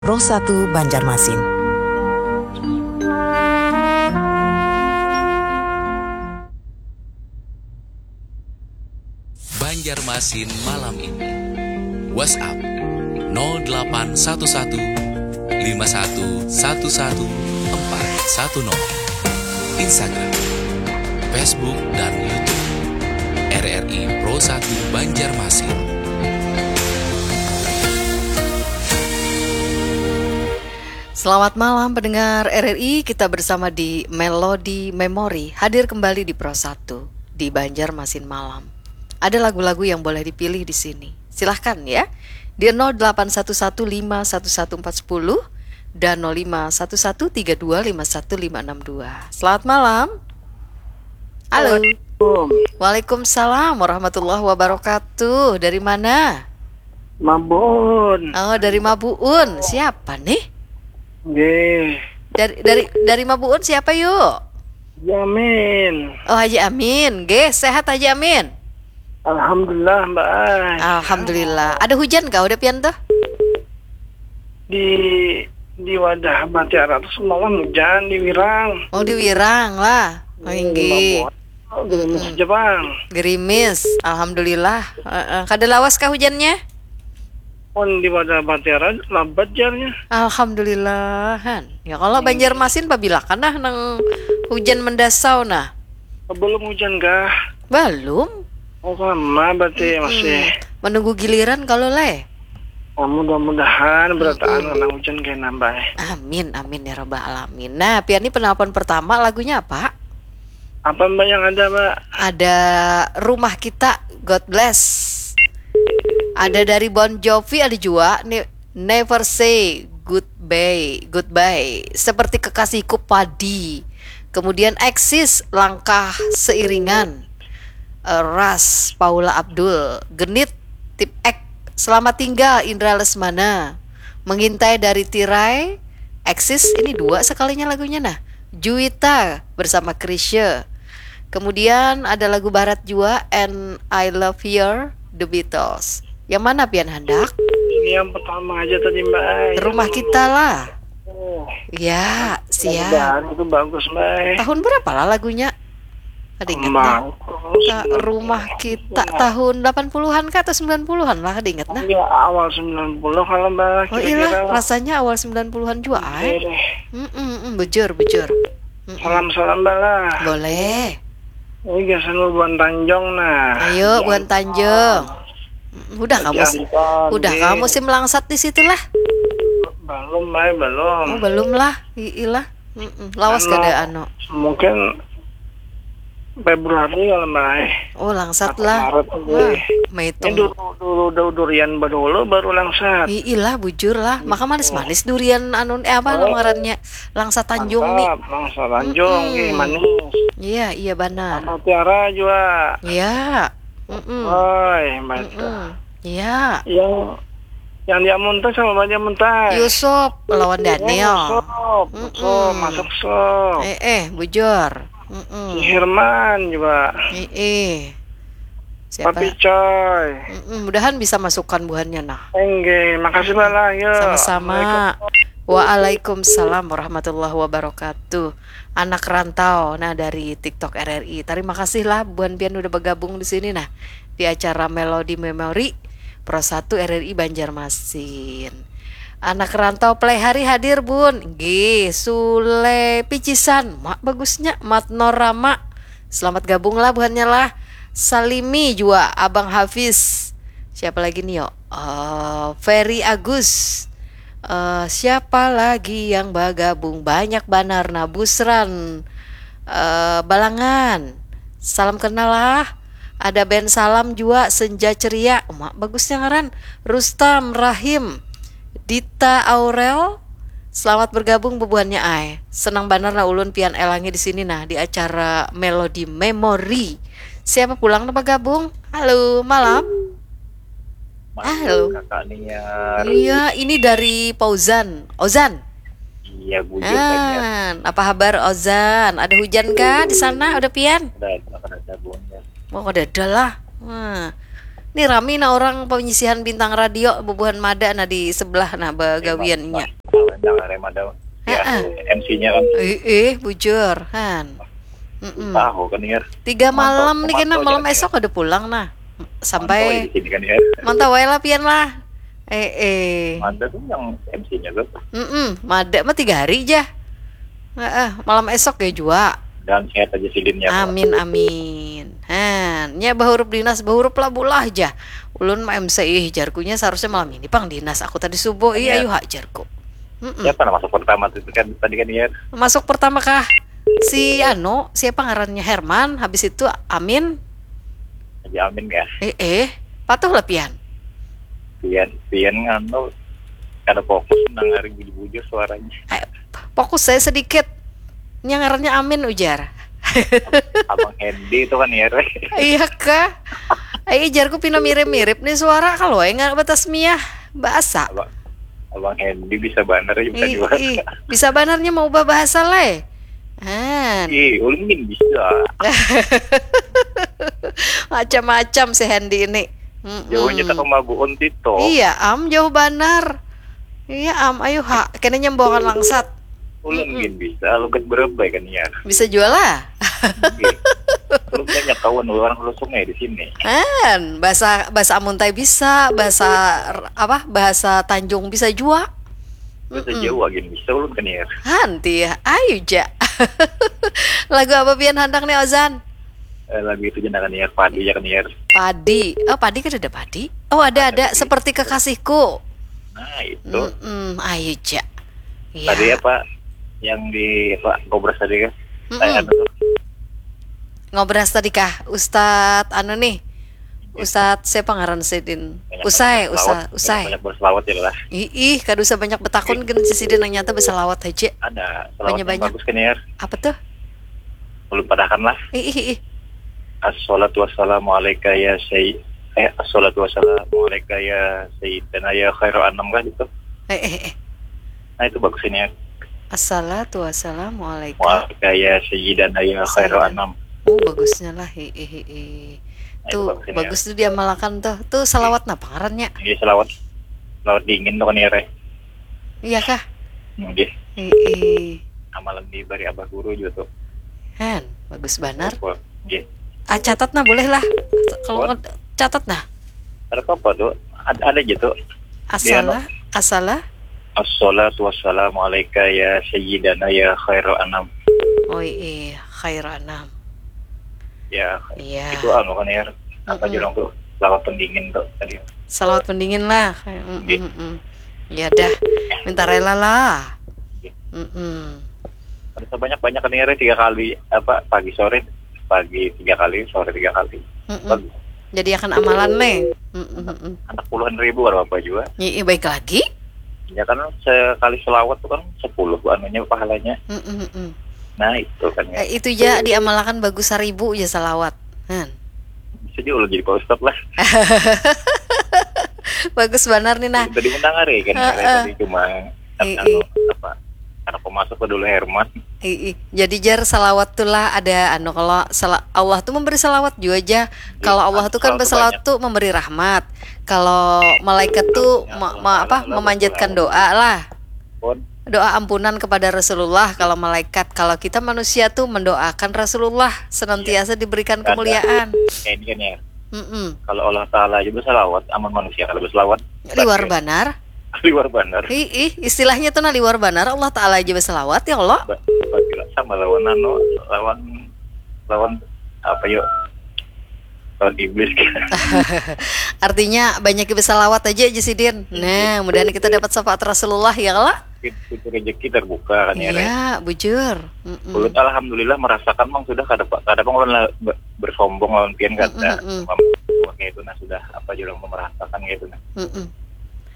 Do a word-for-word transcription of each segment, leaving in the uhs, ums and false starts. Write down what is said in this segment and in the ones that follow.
Pro satu Banjarmasin. Banjarmasin malam ini. WhatsApp nol delapan satu satu lima satu satu satu empat satu nol. Instagram, Facebook, dan YouTube R R I Pro satu Banjarmasin. Selamat malam pendengar R R I, kita bersama di Melody Memory, hadir kembali di Pro satu di Banjarmasin Malam. Ada lagu-lagu yang boleh dipilih di sini. Silahkan ya. Di nol delapan satu satu lima satu satu empat satu nol dan nol lima satu satu tiga dua lima satu lima enam dua. Selamat malam. Halo. Assalamualaikum. Waalaikumsalam warahmatullahi wabarakatuh. Dari mana? Mabun. Oh, dari Mabuun. Siapa nih? Nggih. Dari dari dari Mabuun siapa yuk? Jamin. Oh, Haji Amin. Nggih, sehat Haji Amin. Alhamdulillah, Mbak. Ai. Alhamdulillah. Ada hujan kah udah pian tuh? Di di wadah Batiara tuh semalam hujan di Wirang. Oh, di Wirang lah. Oh, inggih. Mabun. Oh, gerimis aja, Bang. Gerimis, alhamdulillah. Heeh. Kada lawas kah hujannya? Pun di wadah Batiara lambat jarnya. Alhamdulillahan. Ya kalau Banjarmasin pabila kan nah nang hujan mendasau nah. Belum hujan kah? Belum. Oh, sama berarti masih. Menunggu giliran kalau leh. Nah, mudah-mudahan berataan kena hujan kayak nambah. Amin, amin ya rabbal alamin. Nah, pian ini penelpon pertama lagunya apa? Apa, Mbak, yang ada, Mbak? Ada Rumah Kita, God Bless. Ada dari Bon Jovi, ada juga Ne- Never Say Goodbye, Goodbye. Seperti Kekasihku, Padi. Kemudian Axis, Langkah Seiringan. Eh, Ras, Paula Abdul. Genit, Tip X. Selamat Tinggal, Indra Lesmana. Mengintai dari Tirai, Axis, ini dua sekalinya lagunya nah. Juwita bersama Chrisye. Kemudian ada lagu barat jua, And I Love Her, The Beatles. Yang mana pian handak? Ini yang pertama aja tadi, Mbak. Yang Rumah dulu. Kita lah. Oh, Ya, siap. mudah-mudahan itu bagus, Mbak. Tahun berapa lah lagunya? Ada ingat nah? Kembang. Ka- Rumah Kita tahun delapan puluhan kah atau sembilan puluhan lah, ada ingat nah? Ya, awal sembilan puluh kalau, Mbak, Oh iyalah, kira-kira. Rasanya awal sembilan puluhan juga ai. Iya. Mm-mm, mm, bujur, bujur. Mm-mm. Salam-salam, Mbak, lah. Boleh. Ini gasan Buan Tanjung, nah. Ayo, Buan Tanjung. Mm, Udah kamu Jantan, udah Din. Kamu musim langsat di situ lah. Belum, Mbak, belum. Oh, belum lah. Iilah. Mm-mm. Lawas Anu, kada anu. Mungkin Februari kalau, Mbak. Oh, langsat Atau lah. Maret, Wah, nggih. Ini maitung. dulu, dulu, dulu durian badulu baru langsat. Iilah, bujur lah. Maka manis-manis durian anu eh apa Oh. ngarannya? Langsa Tanjung nih. Mantap, Langsa Tanjung, Mm-mm. nggih, manis. Iya, iya banar. Sama Tiara juga. Iya. Mm-mm. Oi, baca. Mm-mm. Iya. Yang yang dia muntas sama banyak muntas. Yusuf lawan Daniel. Sok, Mm-mm. sok, masuk sok. Eh, eh, bujur. Mm-mm. Si Herman juga. Eh, eh. Siapa? Papi Coy. Mm-mm, mudahan bisa masukkan buhannya nah. Enggih, makasih, Mbak, lah. Yo. Sama-sama. Assalamualaikum. Waalaikumsalam warahmatullahi wabarakatuh. Anak rantau nah dari TikTok R R I. Terima kasih lah buhan pian udah bergabung di sini nah di acara Melody Memory Pro satu R R I Banjarmasin. Anak rantau Play Hari hadir bun. Nggih, Sule Picisan. Mak bagusnya Mat Norama. Selamat gabung lah buhannya lah. Salimi juga Abang Hafiz. Siapa lagi nih yo? Eh, Ferry Agus. Eh, siapa lagi yang bergabung? Banyak banar nah. Busran eh, Balangan. Salam kenal lah. Ada Ben Salam juga, Senja Ceria. Mak bagusnya ngaran. Rustam Rahim. Dita Aurel. Selamat bergabung bubuhannya ai. Senang banar lah ulun pian elangi di sini nah di acara Melody Memory. Siapa pulang nang bergabung? Halo, malam. Halo. Kakak Niar. Iya, ini dari Fauzan. Ozan. Iya, bujur banyak. Ah, apa kabar Ozan? Ada hujan kah di sana? Ada pian? Ada, ada, ada bunda. Oh, ada ada lah. Wah. Ni rami nah orang panyisihan bintang radio bubuhan mada nah di sebelah nah bagawian inya. Dengar ya madam. Ya, Heeh. M C-nya kan. Ih, ih, bujur, han. Mm-mm. Tahu kan ya. Tiga malam nih kena Mantau malam jangan esok ada pulang nah. Mantau Sampai di sini kan ya. Mantau wae lah pian lah. Eh, eh. Ada tuh yang M C-nya tuh. Mm-mm, mada mah tiga hari jah. Heeh, malam esok ya jua. Dan sehat aja sidin ya. Amin amin. Han, nya bahurup dinas bahurup lah bulah jah. Ulun ma M C ih jarkunya seharusnya malam ini pang dinas aku tadi subuh ih Iya. Ayu ha jarku. Mm-mm. Siapa nama masuk pertama tuh kan tadi kan ya. Masuk pertama kah? Si anu, siapa ngarannya Herman, habis itu Amin. Aja Amin ya. Eh eh, patuh lah pian. Pian Pian nganu kada fokus mendengar bujur-bujur suaranya. Eh, fokus saya sedikit. Nya ngarannya Amin ujar. Abang Hendy itu kan ya. Iya kah? Ai jarku pina mirip-mirip nih suara kalau ai nggak batas miah bahasa. Abang Abang Hendy bisa banner ya bisa Ih, juga. Ih, bisa banarnya mau ubah bahasa le. Han. Ih, ulun gin bisa. Macam-macam si Hendy ini. Mm-mm. Jauhnya tak kemabuun tito. Iya am jauh banar. Iya am ayo ha kena nyembokan langsat. Ulun gin bisa logat berebai kan ya. Bisa jual lah. Ulun banyak kawan orang Hulu Sungai di sini. Han, bahasa bahasa Amuntai bisa, bahasa apa? Bahasa Tanjung bisa jua. Bahasa Jawa gin bisa ulun kan ya. Hanti ya, ayo ja. Lagu apa pian handak nih Ozan? Eh, lagu itu jenengan ya padi ya kan ya. Padi. Oh, padi kan ada padi. Oh, ada ada seperti kekasihku. Nah itu. Mm-mm, ayo ja. Ya. Tadi apa yang di apa ngobras tadi kan? Mm-mm. Saya anu tuh. Ngobras tadi kah Ustadz anu nih. Ustadz siapa ngaran sidin? Banyak Usai, berselawat, usai, usai. Banyak berselawat ya lah. Ih, ih, kada usah banyak betakun gin sidin nang nyata berselawat aja. Ada selawat yang Banyak-banyak. Bagus kan ya. Apa tuh? Ulun padahakan lah. Ih, ih, ih. Assalatu wassalamu alaika ya sayyid eh assalatu wassalamu alaika ya sayyidana ya khairu anam kan gitu. Eh, eh, eh. Nah itu bagus ini ya. Assalatu wassalamu alaika. Alaika ya sayyidana ya khairu Sayyidana. Anam. Oh, bagusnya lah. Hi, hi, hi, hi. Nah, itu Tuh, bagus ini ya. Bagus tuh diamalkan tuh. Tuh salawat napa ngarannya? Ini selawat selawat dingin tuh kan ya Reh. Iya kah? Nggih. Hi, hi. Amalan di bari abah guru juga tuh. Han, bagus banar. Wah, nggih. Ah, catat nah boleh lah. Kalau What? Nggak- catat nah. Ada apa tuh? Ada, ada aja tuh. Asala, asala. Assalatu wassalamu alaika ya sayyidana ya khairu anam. Oh iya, khairu anam. Ya, Iya. Itu anu kan ya. Apa Mm-mm. jurang tuh? Selawat pendingin tuh tadi. Salawat pendingin lah. Mm, Nggih. mm, mm. Ya dah, minta rela lah. Mm-mm. Ada sebanyak banyak kan ya tiga kali apa pagi sore pagi tiga kali sore tiga kali. Mm-mm. Bagus. Jadi akan amalan nih. Mm-mm, mm-mm. Anak puluhan ribu kalau apa juga. Iya, baik lagi. Ya kan sekali selawat tuh kan sepuluh anunya pahalanya. Mm-mm, mm-mm. Nah itu kan ya. Eh, itu ya diamalkan bagus seribu ya salawat. Han. Bisa juga lo jadi pak ustad lah. Bagus banar nih nah. Tadi mendengar ya kan Heeh. Tadi cuma Iya, anu, apa anak pemasuk ke dulu Herman. Ih, ih. Jadi jar salawat tuh lah ada anu kalau sala- Allah tuh memberi salawat juga aja. Kalau Allah tuh kan Salawat bersalawat tuh memberi rahmat. Kalau malaikat tuh ma- ma- apa memanjatkan doa lah. Pun Doa ampunan kepada Rasulullah kalau malaikat. Kalau kita manusia tuh mendoakan Rasulullah senantiasa diberikan kemuliaan. Kayak ini kan ya. Mm-mm. Kalau Allah Taala aja bersalawat, aman manusia kalau bersalawat. Liwar banar. Liwar banar. Ih, ih, istilahnya tuh nah liwar banar Allah Taala aja bersalawat ya Allah. Ba- ba- Sama lawan anu, lawan lawan apa yuk? Lawan iblis. Artinya banyak bersalawat aja aja sidin. Nah, mudahan kita dapat syafaat Rasulullah ya kalau. Pintu rezeki terbuka kan ya. Rek? Iya, bujur. Mm-mm. Ulun alhamdulillah merasakan mang sudah kada pa- kada pang ulun la- be- bersombong lawan pian kada. Mm-mm, mm-mm. Mam- Kayak itu nah sudah apa jurang merasakan kayak itu nah. Mm-mm.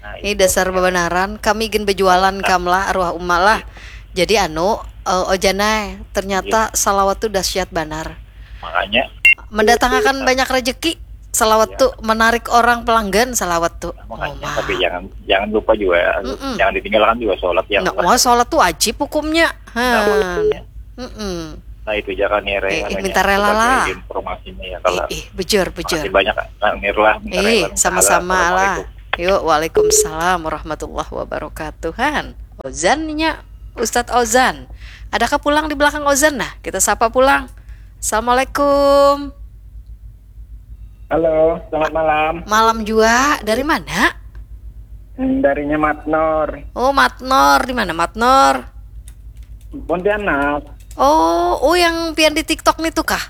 Nah, Ini itu. dasar bebenaran kami gin berjualan kam lah arwah uma lah. Jadi anu eh, ojanai ternyata salawat tuh dahsyat banar. Makanya Mendatangkan banyak rezeki. Salawat tuh menarik orang pelanggan salawat tuh. makanya Oma. Tapi jangan jangan lupa juga Mm-mm. jangan ditinggalkan juga sholat yang Nah, wah, sholat tuh wajib hukumnya. Han. Wajibnya. Mm-mm. Nah, itu jangan nih, Rey, eh, namanya minta rela lah. Informasinya ya, kalau ih, ih, bejur, bejur. Makasih banyak, Nang Nirlah. Minta rela, eh, sama-sama lah. Yuk, waalaikumsalam warahmatullahi wabarakatuh. Han, Ozannya, Ustadz Ozan. Adakah pulang di belakang Ozan? Nah, kita sapa pulang. Assalamualaikum. Halo, selamat malam. Malam juga. Dari mana? Darinya Matnor. Oh, Matnor. Di mana Matnor? Pontianak. Oh, oh, yang pian di TikTok nih tuh kah?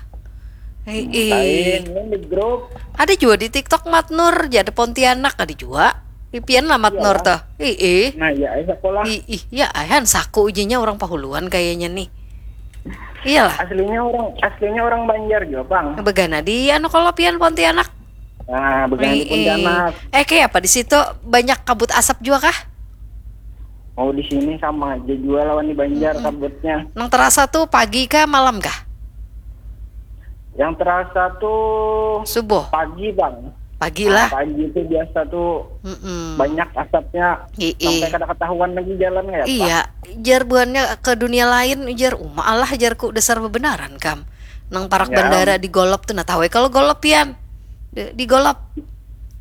Hei, lain, yang di grup. Ada juga di TikTok Matnur, jadi Pontianak ada juga. Pian lah Matnur tuh. Iya. Nah, ya, sekolah. Ih, ya, ayan saku ujinya orang Pahuluan kayaknya nih. Iyalah. Aslinya orang aslinya orang Banjar juga, Bang. Begana di anu kalau pian Pontianak. Nah, begana di Pontianak. Eh, kayak apa di situ, banyak kabut asap juga kah? Oh, di sini sama aja juga lawan di Banjar kabutnya. Nang terasa tuh pagi kah, malam kah? Yang terasa tuh subuh, pagi, Bang. Pagi lah. Nah, pagi itu biasa tuh Mm-mm. Banyak asapnya. Ii. Sampai kada ketahuan lagi jalan ya, Pak? Iya, jar buhannya ke dunia lain, jar uma Allah, jarku dasar bebenaran kam. Nang parak ya, bandara di Golop tuh, nah tahu ya kalau Golop pian? Di, di Golop.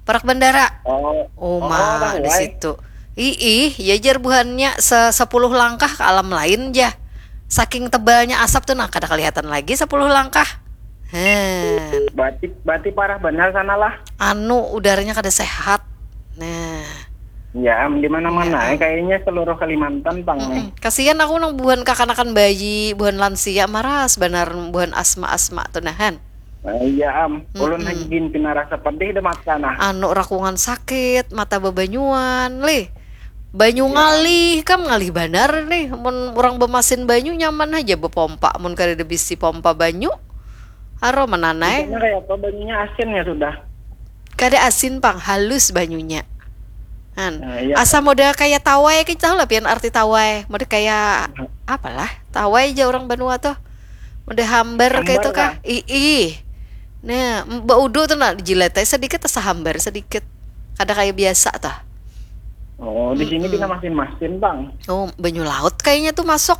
Parak bandara. Oh, Uma oh, di situ. Ih, ya jar buhannya se sepuluh langkah ke alam lain jah. Saking tebalnya asap tuh, nah kada kelihatan lagi sepuluh langkah. Hen. Berarti berarti parah benar sana lah. Anu, udaranya kada sehat. Nah. Ya, di mana-mana ya, kayaknya seluruh Kalimantan pang nih. Kasihan aku nang buhan kakanakan bayi, buhan lansia, maras banar buhan asma-asma tuh nahan. Nah, iya am, ulun lagi gin pina rasa pedih deh mata nah. Anu rakungan sakit, mata bebanyuan, lih. Banyu ngalih, kam ngalih banar nih. Mun orang bemasin banyu nyaman aja bepompa, mun kada ada bisi pompa banyu. Aro menanai. Kayak apa banyunya asin ya sudah. Kada asin pang, halus banyunya. Nah, iya. Asa model kayak tawai, kita tahu lah pian arti tawai. Model kayak apalah, tawai aja orang banua tuh. Model hambar kayak itu kah? Ih, ih. Nah, baudu tuh nah, jilat aja sedikit, asa hambar sedikit. Kada kayak biasa tuh. Oh, di sini pina masin-masin, Bang. Oh, banyu laut kayaknya tuh masuk.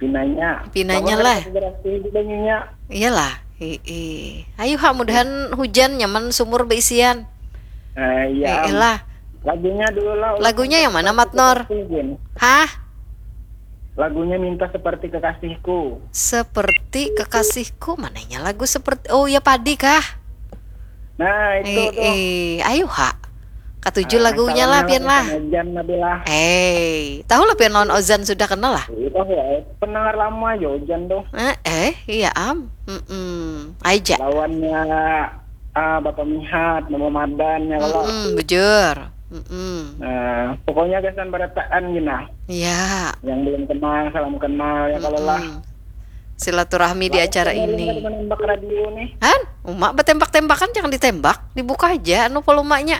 Pinanya. Pinanya lah. Bersih banyunya. Iyalah. Ii. Ayo ha, mudahan hujan nyaman sumur beisian. Eh, iya. Iyalah. Lagunya dulu lah. Lagunya yang mana, Matnor? Hah? Lagunya minta seperti kekasihku. Seperti kekasihku, mananya lagu seperti, oh ya, padi kah? Nah, itu tuh. Eh, ayo ha. Katuju lagunya lah pian lah. Jan Nabila. Eh, tahu lah pian lawan Ozan sudah kenal lah. Tahu ya, pendengar lama aja Ozan tuh. Eh, eh, iya am. Mm-mm. Aja. Lawannya ah, Bapak Mihat, Mama Madan ya kalau. Mm-mm, bujur. Mm-mm. Nah, pokoknya gasan barataan gina. Ya. Yang belum kenal, salam kenal ya kalau lah. Silaturahmi di acara ini. Menembak radio nih. Han, umak bertembak-tembakan jangan ditembak, dibuka aja anu volumenya.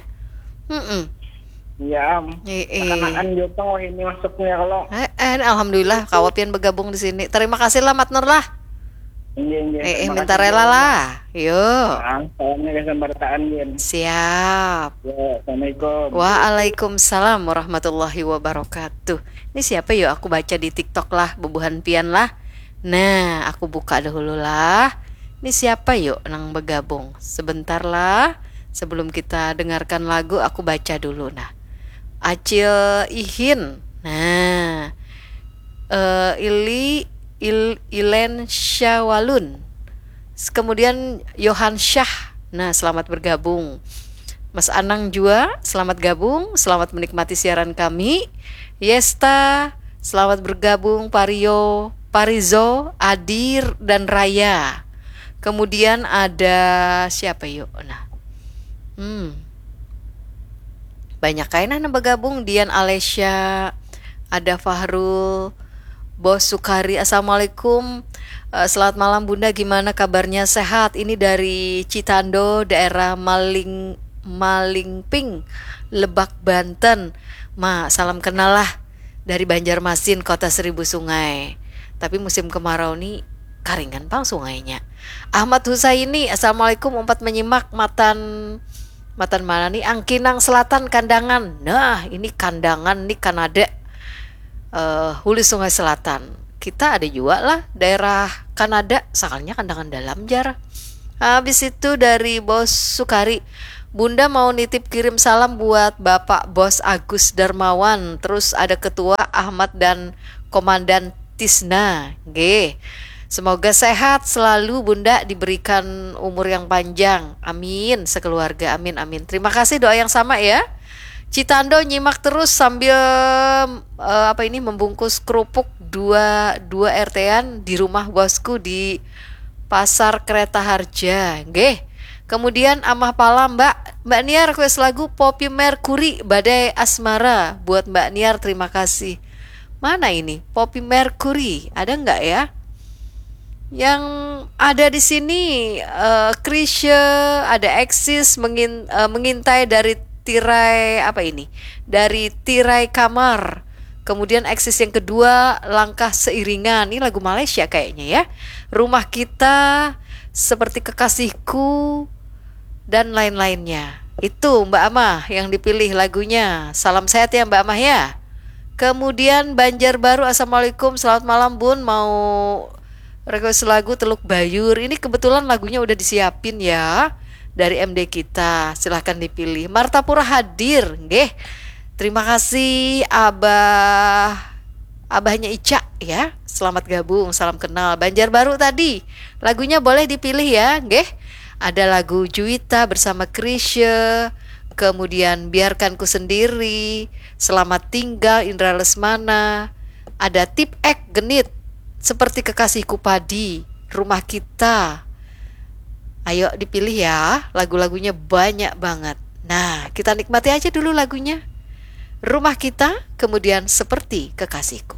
Mm-mm. Iya, am. Eh, eh. Kanaan jopang wah ini masuknya kalau. Eh, eh, alhamdulillah kawa pian bergabung di sini. Terima kasih lah Matnur lah. Iya, iya. Eh, eh, minta rela lah. Yo. Salamnya gasan barataan, Gin. Siap. Ya, assalamualaikum. Waalaikumsalam warahmatullahi wabarakatuh. Ini siapa yo? Aku baca di TikTok lah, bubuhan pian lah. Nah, aku buka dahulu lah. Ini siapa yo nang bergabung? Sebentar lah. Sebelum kita dengarkan lagu, aku baca dulu. Nah, Acil Ihin. Nah, eh, Ili Il, Ilen Syawalun. Kemudian Yohan Syah. Nah, selamat bergabung. Mas Anang juga, selamat gabung, selamat menikmati siaran kami. Yesta, selamat bergabung, Pario, Parizo, Adir, dan Raya. Kemudian ada siapa yuk? Nah, hmm, banyak kain nah bergabung. Dian Alesya, ada Fahrul, Bos Sukari, assalamualaikum. Eh, selamat malam Bunda, gimana kabarnya? Sehat. Ini dari Citando, daerah Maling Malingping, Lebak, Banten. Ma, salam kenal lah dari Banjarmasin, kota seribu sungai. Tapi musim kemarau nih karingan pang sungainya. Ahmad Husaini, assalamualaikum. Umpat menyimak matan matan mana nih? Angkinang Selatan, Kandangan. Nah, ini Kandangan nih Kanada. Eh, hulu Sungai Selatan. kita ada juga lah daerah Kanada, sakalinya Kandangan Dalam jar. Habis itu dari Bos Sukari, Bunda mau nitip kirim salam buat Bapak Bos Agus Darmawan, terus ada Ketua Ahmad dan Komandan Tisna. G. Semoga sehat selalu Bunda, diberikan umur yang panjang. Amin, sekeluarga. Amin, amin. Terima kasih doa yang sama ya. Citando nyimak terus sambil eh, apa ini, membungkus kerupuk dua dua R T-an di rumah bosku di Pasar Kereta Harja. Nggih. Kemudian Amah Pala, Mbak, Mbak Nia request lagu Poppy Mercury, Badai Asmara. Buat Mbak Niar, terima kasih. Mana ini Poppy Mercury? Ada nggak ya? Yang ada di sini eh, Chrisye, ada Axis, mengin, eh, mengintai dari tirai apa ini? Dari tirai kamar. Kemudian Axis yang kedua, Langkah Seiringan. Ini lagu Malaysia kayaknya ya. Rumah Kita, Seperti Kekasihku, dan lain-lainnya. Itu Mbak Amah yang dipilih lagunya. Salam sehat ya Mbak Amah ya. Kemudian Banjarbaru, Assalamualaikum, selamat malam Bun, mau request lagu Teluk Bayur. Ini kebetulan lagunya udah disiapin ya dari M D Kita. Silahkan dipilih. Martapura hadir, nggih. Terima kasih Abah, Abahnya Ica ya. Selamat gabung, salam kenal. Banjarbaru tadi, lagunya boleh dipilih ya, nggih. Ada lagu Juwita bersama Chrisye, kemudian Biarkan Ku Sendiri, Selamat Tinggal Indra Lesmana, ada Tip Ek Genit, Seperti Kekasihku Padi, Rumah Kita. Ayo dipilih ya, lagu-lagunya banyak banget. Nah, kita nikmati aja dulu lagunya. Rumah Kita, kemudian Seperti Kekasihku.